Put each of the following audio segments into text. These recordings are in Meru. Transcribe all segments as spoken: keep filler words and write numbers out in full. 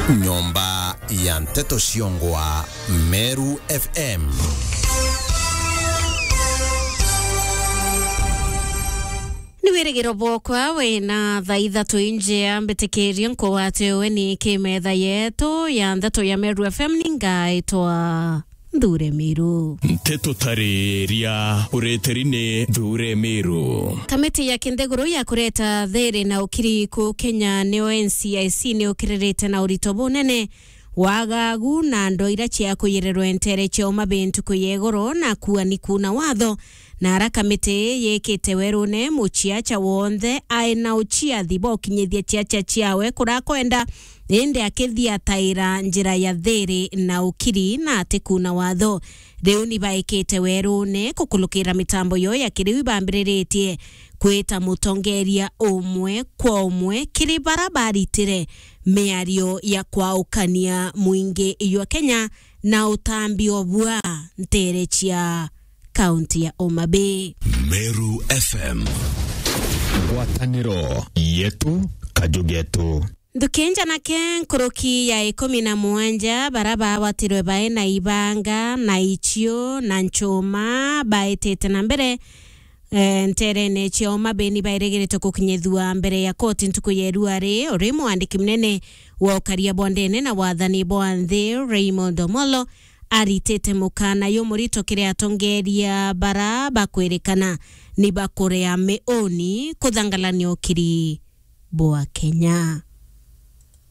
Nyomba ya nteto ciongwa Meru F M. Ni wirigiro bwokwa wina thaa ithatu injea mbitikirie nkugwate uwe ni kimetha yetu ya nteto ya Meru F M, ni ngaitwa Nthure Miru. Nteto tariria ureteri ni Nthure Miru. Kamiti ya kinthiguru ya kureta thiri na ukiri ku Kenya niyo N C I C ni ukiririte na urito bunene, wagagu na ndwaa ira cia kuyirirwa ntere cia uma bintu kuyegoro na kuani kuna watho. Na ara kamiti yikite werune muciaca wonthe ai na uciathi bwa ukinyithia ciaca ciawe kurakwenda, indi akithiataira njira ya thiri na ukiri na atikuna watho. Riu ni baikite werune kukulukira mitambo yo ya kiriu ibambiriritie kwita mutongeria umwe kwa umwe kiri bara baritire miario ya kwaukania mwingi jwa Kenya na utambi o bua ntere cia kaunti ya Homa Bay. Meru F M. Ngwataniro yetu, kaju getu. Nthuki njanake nkuruki ya ikumi na mugwanja bara bawatirwe bae na ibanga na icio na nchuma baitite na mbere, eh, nterene cia Homa Bay ni bairigirite gukinyithua mbere ya koti ntuku ya irua ri, uri mwandiki munene wa ukaria bwa ndene na wathani bwa nthi Raymond Omolo aritite mukana jumurito kiri atongeria bara bakwirikana ni bakurea miuni kuthangalania ukiri bwa Kenya.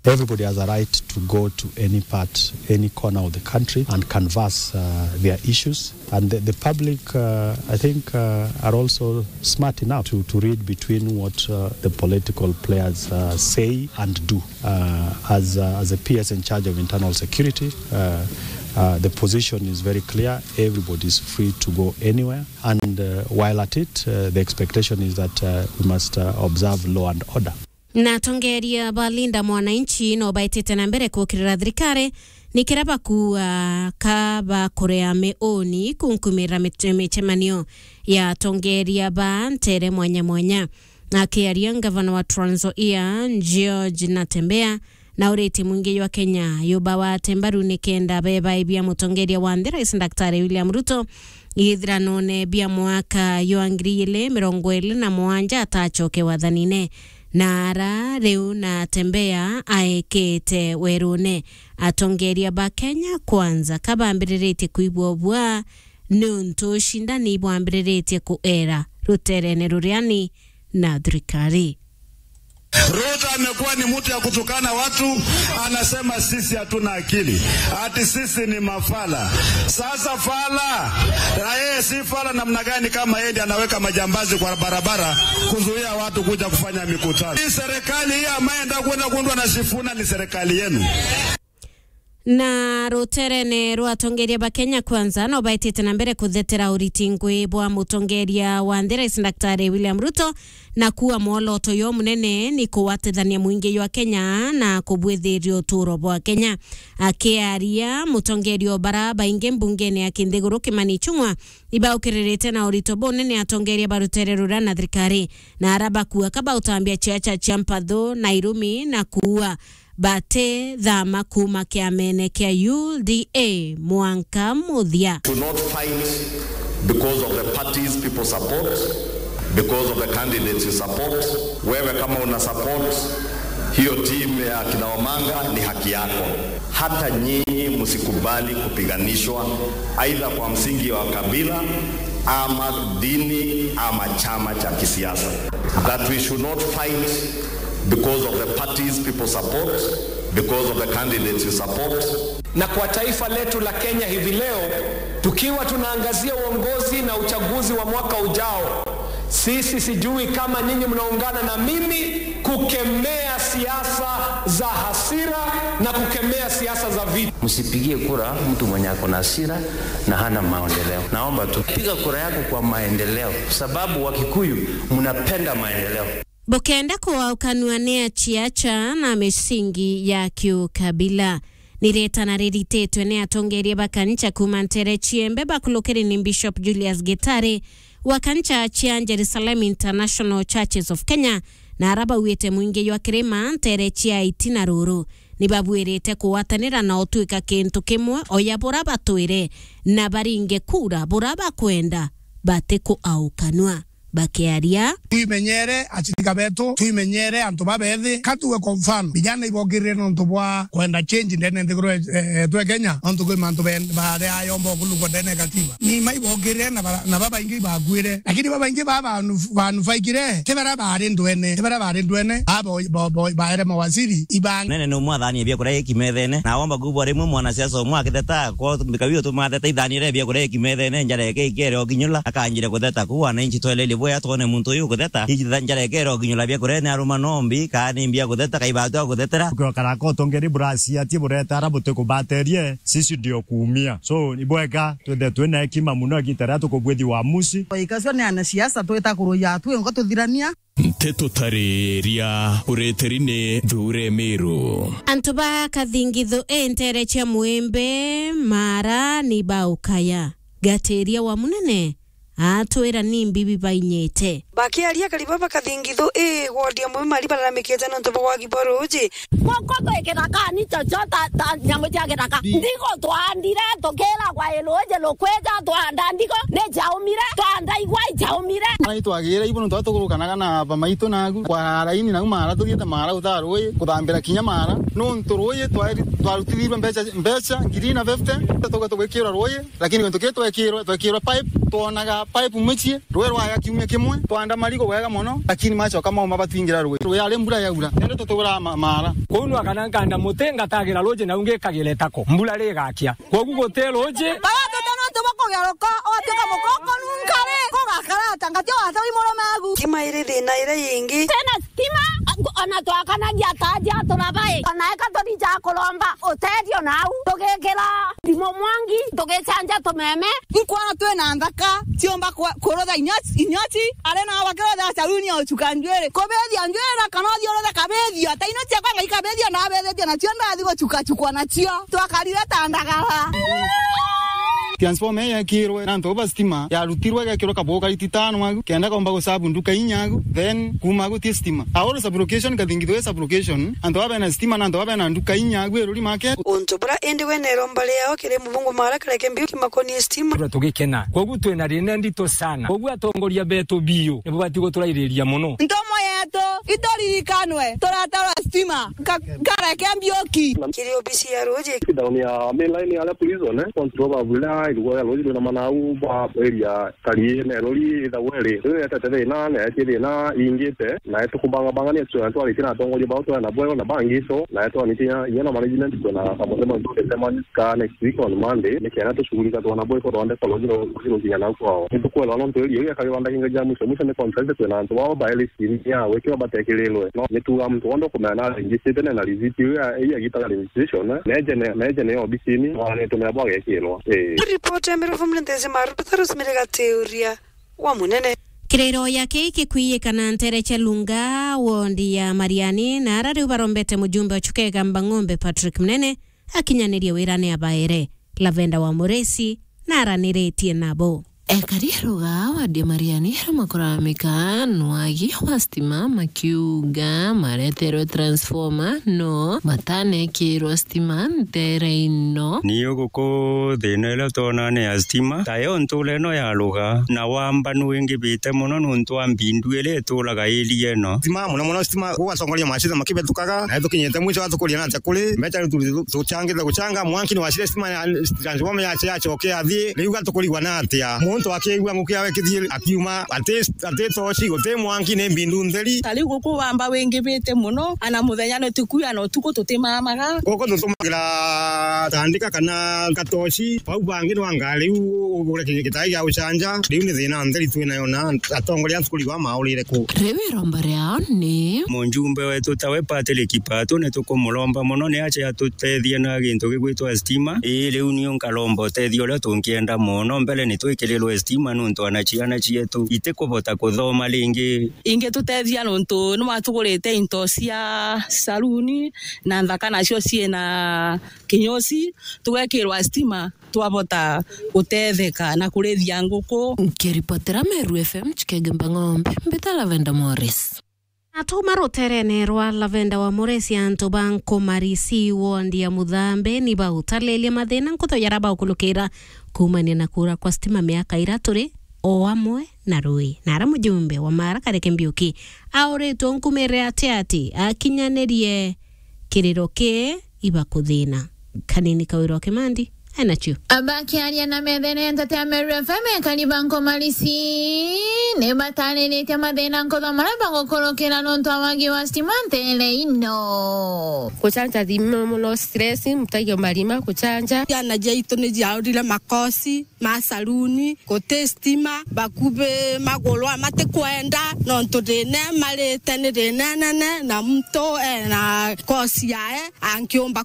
Everybody has a right to go to any part, any corner of the country and canvass, uh, their issues. And the, the public, uh, I think, uh, are also smart enough to, to read between what, uh, the political players, uh, say and do. Uh, as, uh, as a P S in charge of internal security, uh, uh, the position is very clear. Everybody is free to go anywhere. And, uh, while at it, uh, the expectation is that, uh, we must, uh, observe law and order. Na atongeria ba Linda Mwananchi no baitite na mbere kukirira thirikari ni kira bakuua ka bakurea miuni kunkumira mit-, micemanio ya atongeria ba ntere mwanya mwanya. Akiaria ngavana wa Trans Nzoia, George Natembeya, na uriti mwingi jwa Kenya yubawate mbaru ni kenda bebaibia mutongeria wa nthi, Rais Daktari William Ruto, ithiranone bia mwaka jwa ngiri igiri mirongo iri na mugwanja atacoke wathanine. Na ara riu Natembeya aekete werune, atongeria ba Kenya Kwanza kabambiriritie kwibua bua niuntu ucindani bwambiriritie kuera ruterene ruriani na thirikari. Ruto amekuwa ni mtu ya kutukana watu, anasema sisi hatuna akili, ati sisi ni mafala. Sasa fala, na yeye si fala namna gani kama yeye ndiye anaweka majambazi kwa barabara kuzuia watu kuja kufanya mikutano? Hii serikali hii ambaye ndio kwenda kuundwa na Sifuna ni serikali yenu. Na ruterene rwa atongeria ba Kenya Kwanza no baitite na mbere kuthetera uriti ngui bwa mutongeria wa nthi, Rais Daktari William Ruto, na kuua mwoloto yo munene ni kuwatithania mwingi jwa Kenya na kubwithiria uturo bwa Kenya. Akiaria, mutongeria o bara baingi mbungene ya kinthiguru Kimani Ichung'wa ibaukiririte na urito bunene atongeria ba rutere ruria na thirikari, na ara bakua ka bautambia ciaca cia mpathu na irumi na kuua bati thama kuuma kiamene kia U D A mwanka muthia. To not fight because of the parties people support, because of the candidates you support. Wewe kama una support hiyo team ya kina Omanga, ni haki yako. Hata nyinyi msikubali kupiganishwa aidha kwa msingi wa kabila ama dini ama chama cha kisiasa. That we should not fight because of the parties people support, because of the candidates you support. Na kwa taifa letu la Kenya hivi leo, tukiwa tunaangazia uongozi na uchaguzi wa mwaka ujao, sisi, sijui kama nyinyi mnaungana na mimi kukemea siasa za hasira na kukemea siasa za vita. Msipigie kura mtu mwenye ako na hasira na hana maendeleo. Naomba tu piga kura yako kwa maendeleo, sababu Wakikuyu mnapenda maendeleo. Bukenda kuaukanua ni aciaca na misingi ya kiukabila. Ni ritana rirititwe ni atongeria ba kanisa kuuma ntere ciembe bakulukiri ni Bishop Julius Gitari wa kanisa cia Jerusalem International Churches of Kenya, na ara bauite mwingi jwa kirima ntere cia Iti na Ruru. ni babuirite kugwatanira na utwika kintu kimwe, oya bura batwire, na baringe kura bura bakwenda, batikuaukanua. Bakiaria. Twimenyere acirika betu, twimenyere antu babethi. Ka tuge kwa mfano, vijana ibokirire nontu bwa kwenda change ndene nthiguru e-, e-, yetu e Kenya, nontu kwi mantu ben-, baria ayomba kulugwa ndene ya katiba. Ni ma ibokirire na bara-, na babaingi ibakwire. Lakini babaingi ba banu-, banufaikire, ti baria bari ndwene, ti baria bari ndwene, abo bo-, bo-, baere mawaziri, ibangi. Nene ni umwe athanie biakuria iki methene, na womba kubwa rimwe mwanasiasa umwe akitheta, kwa mbika biu tumatheta ithanire biakuria iki methene, njara eke ikere okinyula, akanjire kutheta ku, wananchi twelelie bwea twone muntu uyu ukutheta, iji tha njara ikere okinyula biakuria ni aruma nombi, kaa ni mbia kutheta, kai batu akuthetera. Ukiokara ko tongeri burasi atie bureta ara butikubaterie, sisi ndio kuumia. So, ibwega, twithe twina hekima muno igita riria tukubwithi uamusi. Ikacio ni anasiasa twita kuruya twingo tuthirania. Nteto tariria ureteri ni Thuure Miru. Antu ba Kathingithu i ntere cia Mwimbi, Mara ni baukaya. Gatiria wa munene atwira ni mbibi bainyite. Bakiaria kariba ba Kathingithu i wodi ya Mwimbi Mara balalamikite nontu bwa wagi bwa ruuji. Guku twi kithakani chocho ta, ta nyamu cia kithaka. Ndigo twaandire tukiragwa i ruuji rukwija, twaanda ndigo ni jaumire, twaanda igwa ijaumire. Ai twagire ibo nontu aria tugurukanaga na bamaitu nagu kwa raini nau Mara tuthiite Mara utaa ruuji kuthambira kinya Mara. Nontu ruuji twari-, twarutithirwe mbeca, mbeca ngiri na fifty, tuga tugikirwa ruuji, lakini gintu kii twekirwe, twekirwe pipe, twonaga pipe mucii, ruuji rwaga kiumia kimwe, twaanda marigo bwega mono, lakini macoka mauma batwingira ruuji. Ruuji ari mbura yaura, nende tutugura ma-, Mara. Kuu nwa kana nkanda muti ngatagira ruuji nau ngikagira itako, mbura rigakia. Kwogu guti ruuji. Baba tuti nontu bwa kugeruka, watuika mukoko nunkari, kugakara ata ngati watawi murume agu. Kima iri thina iria yingi. Tena stima, ona twakanagia ta aja turabai. Ona eka tuthi ja kuromba utethio nau. Tugikira ndimo mwangi, tugicanja tumeme. Nkwona twina nthaka, ciumba kwa-, kurutha inyochi, inyochi, ari nao bakirutha saluni ya uchuka njuiri. Kubithia njuiri na kana uthi uruthe kabithio, ta ino ciakwa ngai kabithio na abithitie nacio ndathi guchuka chukwa nacio. Twakarire ta ndagara. Transformer ii yekirwe na antu ba stima, yarutirwe igekirwa kabugu kari titano agu, kenda komba gusabu nduka inya agu, then kuma agu ti stima. Aoro sublocation, Kathingithu i sublocation, antu baba bena stima na antu baba bena nduka inya agu iruri make. Untu bura indi we na iromba riao kiri mubungu Mara kareke mbiu kimakonie stima. Tugikena. Kwogu twina thina ndito sana. Kwogu atongoria betu biu nibo bati guturairiria mono. Ntomo yetu ituririkanwe, turatarwa stima. Ka-, kareke mbiuki. Kiri obisi ya ruuji. Down ya main line ya prison, eh, control ba bula, irugo ya ruuji rwina manau, ba area kari na rori itha weri. Riu yetete thina, na yeti thina, ingite, na yetu kubanga banga ni tu, twaritie na atongoria bao twari nabo na bangi so, na yetu anitia, inya na management kwina kamutema ndurite man-, ka next week on Monday, ni kenda tushughulika twana boy ko rwande kwa ruuji ru-, ruuji rukinya nau kwao. Ni tukwelwa nontu area iu ya kagibanda kinga ja mwisho mwisho ni contract kwina antu bao ba L C ya gwikirwa batekirirwe. No, ni tuga muntu wonthe ukumenya na registrate na receipt iu ya, iu yagitaga registration, eh, neje ne, neje ne obisini, na nitumenya bwagekirwa. Eh. Ripoti ya Miru Family Nthezi Maru, Peter Rosemary Gatiuria wa Munene. Kiriro ya kii kikwiyikana ntere cia Lunga, wondi ya Mariani, na ara riu barombete mujumbe wa Chuka Igamba Ng'ombe Patrick Munene akinyanirie wirane abaere. Lavenda wa Muresi na araniritie nabo. Ekari ruga wadi Mariani ruma kuramika nwagi wa stima makiuga mareterwe transformer no matanekirwa stima ntere ino. Ni uguku thina iria twona ni ya stima, tayo ntura ino ya ruga na wambanu wingibite mono nuntu wa mbindu iria ituraga area ino. Stima, muno muno stima, gugatongoria macitha makibitukaga, na tukinyite mwisho atukuria na atia kuri mbeca riu tu-, tucangite gucanga, mwanki ni wacire stima ya transformer yache yacoke athii, riu gatukurigwa na atia? Muntu akiigua nguki yawe kithii akiuma, ati, ati toci, guti mwanki, ni mbindu ntheri. Ta riu guku wamba wingibite muno, ana muthenya ni tukuya na utuku tutimamaga. Guku tutumagira tandika kana katoci, bau bangi nwa ngari u ugure kinyi gitai gia gucanja, riu ni thina ntheri twinayo na atongoria tukurigwa maurire ku. Riu iromba riao ni. Mujumbe wetu tawe Patrick Patu ni tukumuromba muno ni ache atutethie na gintu gigwitwa stima. Ii, riu niu nkaromba utethio uria tungienda mono. Mbere ni twikirirwe stima nuntu ana ciana cietu itikubota kuthoma ringi. Ingitutethia nuntu ni watugurite into cia saluni na nthaka nacio ciina kinyosi, tugekirwa stima, twabota gutetheka na kurithia nguku. Nkiripotera Meru F M Chikenge Mbang'ombe, mbita Lavenda Morris. Atuma ruterene rwa Lavenda wa Muresi, antu ba Nkumarisi, wondi ya Muthambe, ni bautalilia mathina nkutho jaria baukulukira kumania na kuura kwa stima miaka iria turi o amwe na rui. Na ara mujumbe wa Mara Kareke Mbiuki auritwe nkumirire ati ati akinyanirie kiriro kii ibakuthina. Kanini Kawira wa Kimandi ainacio. Abakiaria na methene ntete ya Meru F M, ekari ba Nkumarisi ni batariritie mathina nkutho maria bagukurukira nontu wa wagi wa stima ntere ino. Kuchanja thimu muno stress, mtagia marima kuchanja. Ciana ciaitu ni ciaurire makosi ma saluni, guti stima, bakubi maguru amatikwenda, nontu thina marite ni thina nene, na muntu ena kosi yae angiumba